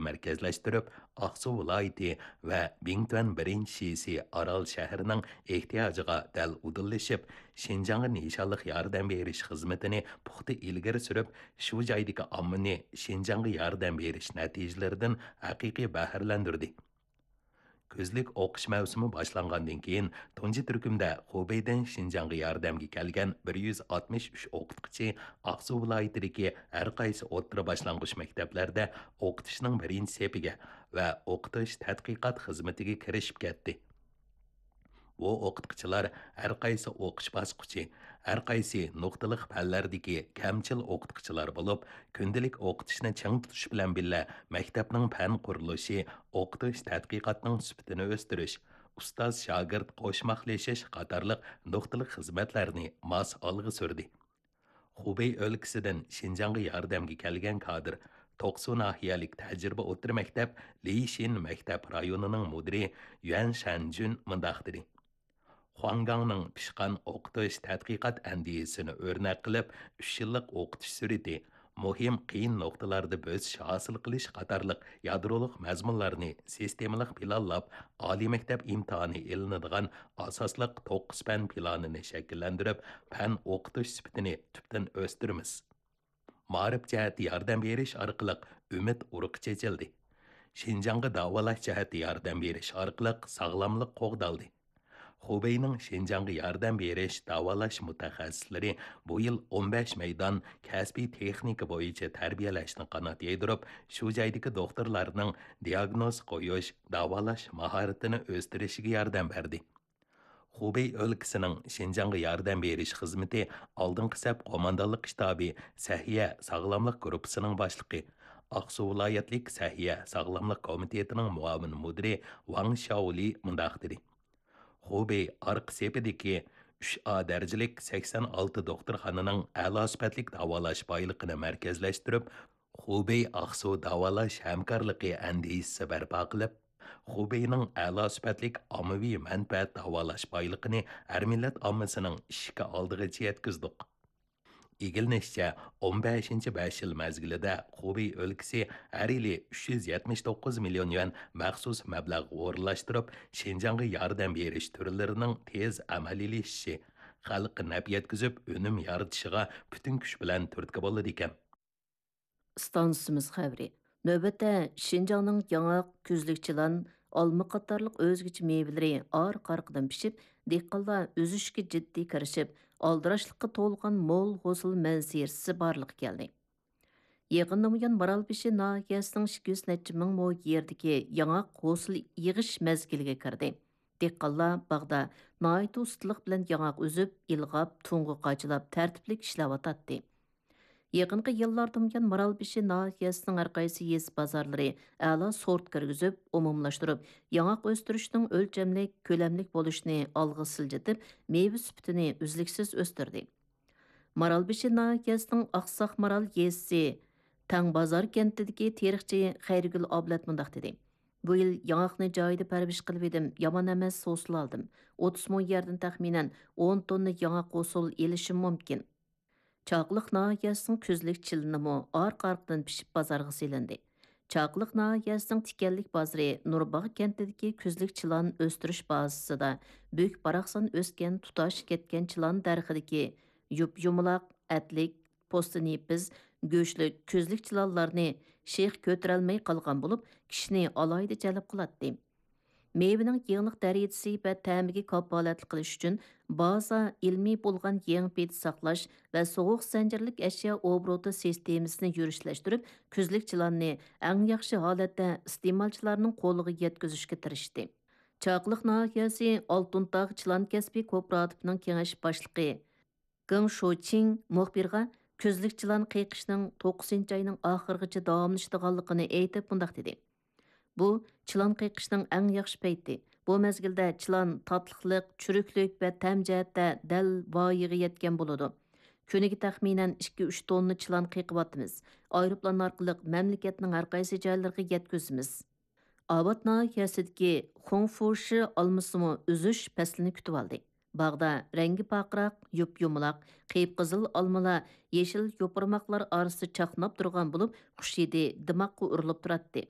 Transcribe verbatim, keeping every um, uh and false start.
مەركەزلەشتۈرۈپ، ئاقسۇ ۋىلايىتى ۋە بىڭتۈەن بىرىنچى شىسى ئارال شەھىرىنىڭ ئېھتىياجىغا دەل ئۇدۇللىشىپ، شىنجاڭغا نىشانلىق ياردەم بېرىش خىزمىتىنى پۇختا ئىلگىرى سۈرۈپ، شۇ جايدىكى ئاممىنى شىنجاڭغا ياردەم بېرىش نەتىجىلىرىدىن ھەقىقىي بەھرىلەندۈردى. كۈزلۈك ئوقۇش مەۋسۇمى باشلانغاندىن كېيىن، تۇنجى تۈركۈمدە خۇبېيدىن شىنجاڭغا ياردەمگە كەلگەن بىر يۈز ئاتمىش ئۈچ ئوقۇتقۇچى ئاقسۇ ۋىلايىتىدىكى ھەر قايسى ئوتتۇرا باشلانغۇچ مەكتەپلەردە ئوقۇتۇشنىڭ بىرىنچى سېپىگە ۋە ئوقۇتۇش تەتقىقات خىزمىتىگە كىرىشىپ كەتتى. بۇ ئوقۇتقۇچىلار ھەر قايسى ئوقۇش باسقۇچى، ھەر قايسى نۇقتىلىق پەنلەردىكى كەمچىل ئوقۇتقۇچىلار بولۇپ، كۈندىلىك ئوقۇتۇشنى چىڭ تۇتۇش بىلەن بىللە، مەكتەپنىڭ پەن قۇرۇلۇشى، ئوقۇتۇش تەتقىقاتنىڭ سۈپىتىنى ئۆستۈرۈش، ئۇستاز-شاگىرت قوشماقلىشىش قاتارلىق نۇقتىلىق خىزمەتلەرنى ماس ئالغا سۈردى. خۇبېي ئۆلكىسىدىن شىنجاڭغا ياردەمگە كەلگەن كادىر، توقسۇ ناھىيەلىك تەجرىبە ئوتتۇرا مەكتەپ لىشىن مەكتەپ رايونىنىڭ مۇدىرى يۈەن شەنجۈن مۇنداق دېدى: خۇاڭگاڭنىڭ پىشقان ئوقۇتۇش تەتقىقات ئەندىزىسىنى ئۆرنەك قىلىپ، ئۈچ يىللىق ئوقۇتۇش سۈرئىتى، مۇھىم قىيىن نۇقتىلاردا بۆسۈش ھاسىل قىلىش قاتارلىق يادرولۇق مەزمۇنلارنى سىستېمىلىق پىلانلاپ، ئالىي مەكتەپ ئىمتىھانى ئېلىنىدىغان ئاساسلىق توققۇز پەن پىلانىنى شەكىللەندۈرۈپ، پەن ئوقۇتۇش سۈپىتىنى تۈپتىن ئۆستۈرىمىز. مائارىپ جەھەتتە ياردەم بېرىش ئارقىلىق ئۈمىد ئۇرۇقى چېچىلدى. شىنجاڭغا داۋالاش جەھەتتە ياردەم بېرىش ئارقىلىق ساغلاملىق قوغدالدى. خۇبېينىڭ شىنجاڭغا ياردەم بېرىش، داۋالاش مۇتەخەسسىسلىرى بۇ يىل ئون بەش مەيدان كەسپىي تېخنىكا بويىچە تەربىيەلەشنى قانات يايدۇرۇپ، شۇ جايدىكى دوختۇرلارنىڭ دىياگنوز قويۇش، داۋالاش ماھارىتىنى ئۆستۈرۈشىگە ياردەم بەردى. خۇبېي ئۆلكىسىنىڭ شىنجاڭغا ياردەم بېرىش خىزمىتى ئالدىنقى سەپ قوماندانلىق شتابى سەھىيە ساغلاملىق گۇرۇپپىسىنىڭ باشلىقى، ئاقسۇ ۋىلايەتلىك سەھىيە ساغلاملىق كومىتېتىنىڭ مۇئاۋىن مۇدىرى ۋاڭ شياۋلى مۇنداق دېدى: خۇبېي ئارقا سېپىدىكى ئۈچ ئا دەرىجىلىك سەكسەن ئالتە دوختۇرخانىنىڭ ئەلا سۈپەتلىك داۋالاش بايلىقىنى مەركەزلەشتۈرۈپ، خۇبېي ئاقسۇ داۋالاش ھەمكارلىقى ئەندىزىسى بەرپا قىلىپ، خۇبېينىڭ ئەلا سۈپەتلىك ئاممىۋى مەنپەئەت داۋالاش بايلىقىنى ھەر مىللەت ئاممىسىنىڭ ئىشىكى ئالدىغىچە يەتكۈزدۇق. ئىگىلىنىشىچە، ئون بەشىنچى بەش يىل مەزگىلىدە خۇبېي ئۆلكىسى ھەر يىلى ئۈچ يۈز يەتمىش توققۇز مىليون يۈەن مەخسۇس مەبلەغ ئورۇنلاشتۇرۇپ، شىنجاڭغا ياردەم بېرىش تۈرلىرىنىڭ تېز ئەمەلىيلىشىشى، خەلققە نەپ يەتكۈزۈپ، ئۈنۈم يارىتىشىغا پۈتۈن كۈچ بىلەن تۈرتكە بولىدىكەن. ئىستانسىمىز خەۋىرى. نۆۋەتتە شىنجاڭنىڭ ياڭاق، كۈزلۈك چىلان، ئالما قاتارلىق ئۆزگىچە مېۋىلىرى ئارقا-ئارقىدىن پىشىپ، دېھقانلار ئۈزۈشكە جىددىي كىرىشىپ، ئالدىراشلىققا تولغان مول ھوسۇل مەنزىرىسى بارلىققا كەلدى. يېقىندىن بۇيان، مارالبېشى ناھىيەسىنىڭ ئىككى يۈز نەچچە مىڭ مو يېرىدىكى ياڭاق ھوسۇل يىغىش مەزگىلىگە كىردى. دېھقانلار باغدا ناھايىتى ئۇستىلىق بىلەن ياڭاق ئۈزۈپ، ئىلغاپ، تۇڭغا قاچىلاپ، تەرتىپلىك ئىشلەۋاتاتتى. يېقىنقى يىللاردىن بۇيان، مارالبېشى ناھىيەسىنىڭ ھەر قايسى يېزا بازارلىرى ئەلا سورت كىرگۈزۈپ، ئومۇملاشتۇرۇپ، ياڭاق ئۆستۈرۈشنىڭ ئۆلچەملىك، كۆلەملىك بولۇشىنى ئالغا سىلجىتىپ، مېۋە سۈپىتىنى ئۈزلۈكسىز ئۆستۈردى. مارالبېشى ناھىيەسىنىڭ ئاقساق مارال يېزىسى تەڭبازار كەنتىدىكى تېرىقچى خەيرىگۈل ئابلەت مۇنداق دېدى: بۇ يىل ياڭاقنى جايىدا پەرۋىش قىلىۋىدىم، يامان ئەمەس ھوسۇل ئالدىم. ئوتتۇز مو يەردىن تەخمىنەن ئون توننا ياڭاق ھوسۇل ئېلىشىم مۇمكىن. چاقىلىق ناھىيەسىنىڭ كۈزلۈك چىلىنىمۇ ئارقا-ئارقىدىن پىشىپ بازارغا سېلىندى. چاقىلىق ناھىيەسىنىڭ تىكەنلىك بازىرى نۇرباغ كەنتىدىكى كۈزلۈك چىلان ئۆستۈرۈش بازىسىدا بۈك-باراقسان ئۆسكەن تۇتاش كەتكەن چىلان دەرىخىدىكى يۇپ-يۇمىلاق، ئەتلىك، پوستى نېپىز، گۆشلۈك كۈزلۈك چىلانلارنى شېخ كۆتۈرەلمەي قالغان بولۇپ، كىشىنى ئالاھىدە جەلپ قىلاتتى. مېۋىنىڭ يېڭىلىق دەرىجىسى ۋە تەمىگە كاپالەتلىك قىلىش ئۈچۈن، بازا ئىلمىي بولغان يېڭى پېتى ساقلاش ۋە سوغۇق زەنجىرلىك ئەشيا ئوبوروتى سىستېمىسىنى يۈرۈشلەشتۈرۈپ، كۈزلۈك چىلاننى ئەڭ ياخشى ھالەتتە ئىستېمالچىلارنىڭ قولىغا يەتكۈزۈشكە تىرىشتى. چاقىلىق ناھىيەسى ئالتۇن تاغ چىلان كەسپى كوپىراتىپىنىڭ كېڭەش باشلىقى گېڭ شوچىڭ مۇخبىرغا كۈزلۈك چىلان قېقىشنىڭ توققۇزىنچى ئاينىڭ ئاخىرىغىچە داۋاملىشىدىغانلىقىنى ئېيتىپ، مۇنداق دېدى: بۇ چىلان قېقىشنىڭ ئەڭ ياخشى پەيتى. بۇ مەزگىلدە چىلان تاتلىقلىق، چۈرۈكلۈك ۋە تەم جەھەتتە دەل ۋايىغا يەتكەن بولىدۇ. كۈنىگە تەخمىنەن ئىككى ئۈچ توننا چىلان قېقىۋاتىمىز. ئايروپىلان ئارقىلىق مەملىكەتنىڭ ھەر قايسى جايلىرىغا يەتكۈزىمىز. ئاۋات ناھىيەسىدىكى خۇڭفۇشى ئالمىسىمۇ ئۈزۈش پەسلىنى كۈتۈۋالدى. باغدا رەڭگى پارقىراق، يۇپ-يۇمىلاق، قىپقىزىل ئالمىلار يېشىل يوپۇرماقلار ئارىسىدا چاقناپ تۇرغان بولۇپ، خۇش ھىدى دىماققا ئۇرۇلۇپ تۇراتتى.